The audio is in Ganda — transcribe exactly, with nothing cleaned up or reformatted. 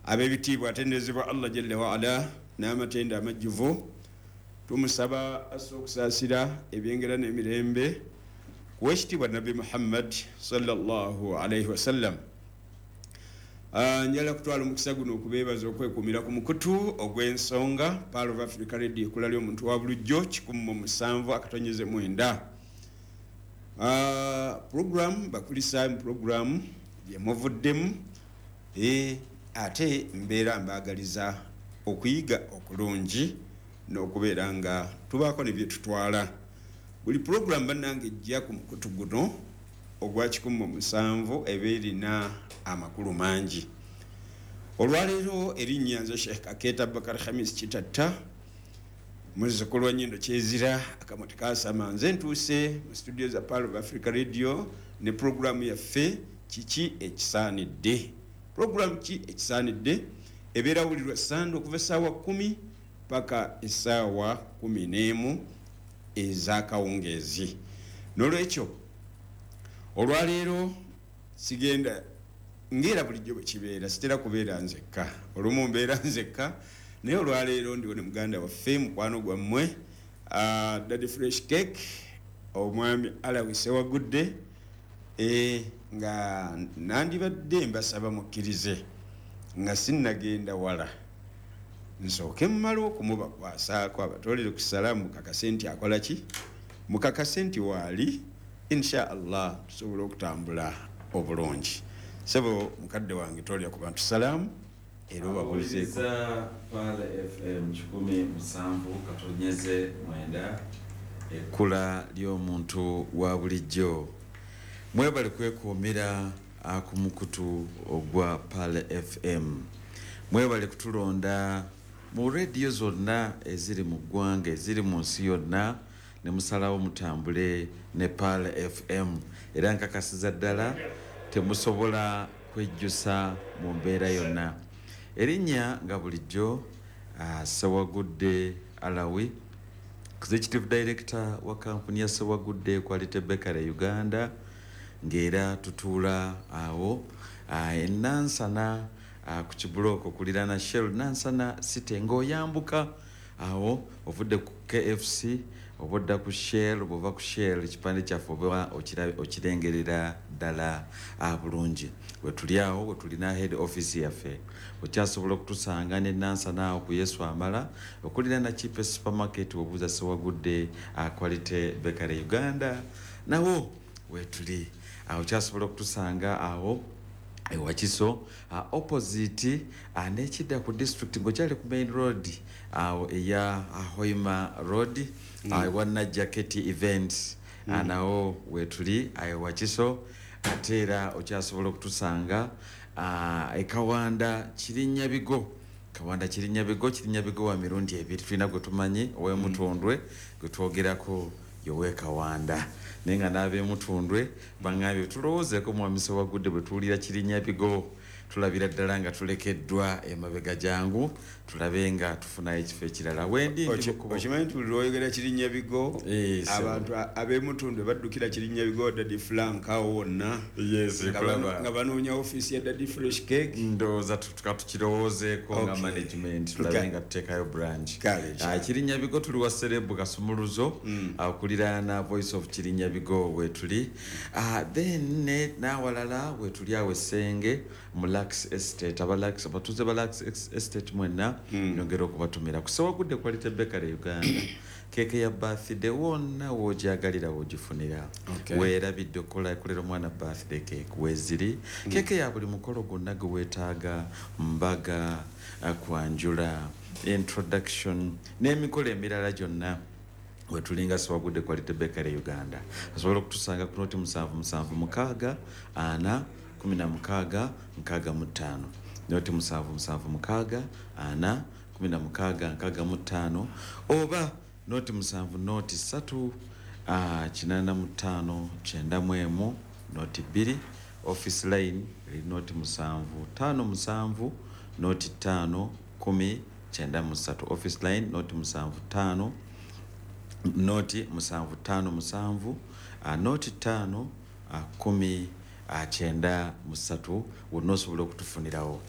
Ab'ebitiibwa, atenderezebwa Allah jalla waala n'amatendo amajjuvu. Tumusaba assa okusaasira, ebyengera n'emirembe kuwekitiibwa Nabbi Muhammad sallallahu alaihi wasallam. Ah, njala kutwala omukisa guno okubeebaza okwekumira ku mukutu ogw'ensonga Pearl of Africa Radio, ekkula ly'omuntu wa bulijjo, kikumi mu musanvu akatonyeze mwenda. Ah, program bakulisaayo mu program gyemuvuddemu. Eh, ate mbeera mbaagaliza okuyiga okulungi n'okubeera nga tubaako ne byetutwala. Buli program, bannange, ejja ku mukutu guno ogwa kikumi mu musanvu eba erina amakulu mangi. Olwaleero, erinnya nze Sheikh Akeeta Bakar Hamis Kitatta, muzzukulu wa Nyindo Kyezira akamuti kasama. Nze ntuuse mu studio za Pearl of Africa Radio ne puroguramu yaffe Kiki Ekisaanidde. Puroguramu Ki Ekisaanidde ebeera wulirwa Sande okuva essaawa kumi paka essaawa kumi n'emu ez'akawungeezi. N'olwekyo olwaleero sigenda ngaera bulijjo bwe kibeera, sitera kubeera nzekka. Olumu mbeera nzekka, naye olwaleero ndiwo ne muganda waffe, mukwano gwammwe, uh, Daddy Fresh Cake, omwami Alawi Sewagudde. e, nga nandibadde mbasaba mukkirize nga sinnagenda wala, nsooke mmale okumubakwasaako abatolere ku salaamu, mukakase nti akola ki, mukakase nti waali. Insha Allah tusobole okutambula obulungi. Sebo mukadde wange, tolya ku bantu salaamu era obabuuzeeko. Abawuliriza Pearl F M kikumi musanvu katonyeze mwenda, ekkula ly'omuntu wa bulijjo, mwebale kwekuumira ah, ku mukutu ogwa Pearl F M. Mwebale kutulonda mu rediyo zonna eziri mu ggwanga, eziri mu nsi yonna, ne musalawo mutambule ne Pearl F M. Era nkakasiza ddala temusobola kwejjusa mu mbeera yonna. Erinnya nga bulijjo uh, Sewagudde Alawi, executive director wa kampuni ya Sewagudde Quality Bakery Uganda, ng'era tutuula awo uh, enansana uh, ku kibulooko kuliraana Shell Nansana City. Ng'oyambuka awo ovudde ku K F C oba odda ku Shell, bw'ova ku Shell ekipande kyaffe oba okira- okirengerera ddala ah, bulungi. Wetuli awo wetulina head office yaffe. Okyasobola okutusanga ne Nansana awo ku Yesu Amala okuliraana Chipe Supermarket. Obuuza Sewagudde ah, Quality Bakery Uganda, nawo wetuli awo. Okyasobola okutusanga awo ewakiso uh, opposite uh, nekidda ku district ng'okyali ku main road awo eya uh, Hoima Road, mm. uh, ewa Najaketi Events, mm. uh, nawo wetuli awo ewakiso. Ate era okyasobola okutusanga uh, ekawanda Kirinyabigo. Kawanda Kirinyabigo, Kirinyabigo wa mirundi ebiri. Tulina gwe tumanyi ow'emutundwe gwe twogerako, yowekawanda, naye nga n'ab'emutundwe baŋŋambye tulowoozeeko. Mwami Sewagudde, bwe tuwulira Kirinyabigo tulabira ddala nga tulekeddwa emabega. Jangu tulabe nga tufunayo ekifo ekirala wendi ndi mu kkubo. Okimanyi nti buli lwoyogera Kirinyabigo, Eh, sebo. abantu ab'emutundwe baddukira Kirinyabigo, Daddy Frank awo wonna, Yes, nga nkulaba. bano- nga banoonya ofiisi ya Daddy Fresh Cake. Ndowooza tuka tukirowoozeeko nga Okay. management, tulabe Tuka- nga tuteekayo branch. Kale. Ah, Kirinyabigo tuli wa Serebu Kasumuluzo, okuliraana Voice of Kirinyabigo wetuli. Ah, then ne- n'awalala wetuli awo Essenge mu Lux Estate. Abalux, abatuuze ba Lux Estate mwenna, nyongera okubatumira ku Sewagudde Quality Bakery Uganda. Keeke ya birthday wonna wogyagalira wogifunira. Okay. Weerabidde okukola ekolera omwana birthday cake, weeziri. Keeke ya buli mukolo gwonna gwe weetaaga, mbaga, eh, kwanjula, introduction n'emikolo emirala gyonna, wetulinga Sewagudde Quality Bakery Uganda. Osobola okutusanga ku noti musanvu musanvu mukaaga ana kumi na mukaaga nkaaga mu ttaano, noti musanvu musanvu mukaaga ana kumi na mukaaga nkaaga mu ttaano, oba noti musanvu noti ssatu ah, kinaana mu ttaano kyenda mu emu noti bbiri. Office line eri noti musanvu ttaano musanvu noti ttaano kumi kyenda mu ssatu. Office line noti musanvu ttaano noti musanvu ttaano musanvu ah, noti ttaano ah, kumi ah, kyenda mu ssatu. Wonna osobola okutufunirawo.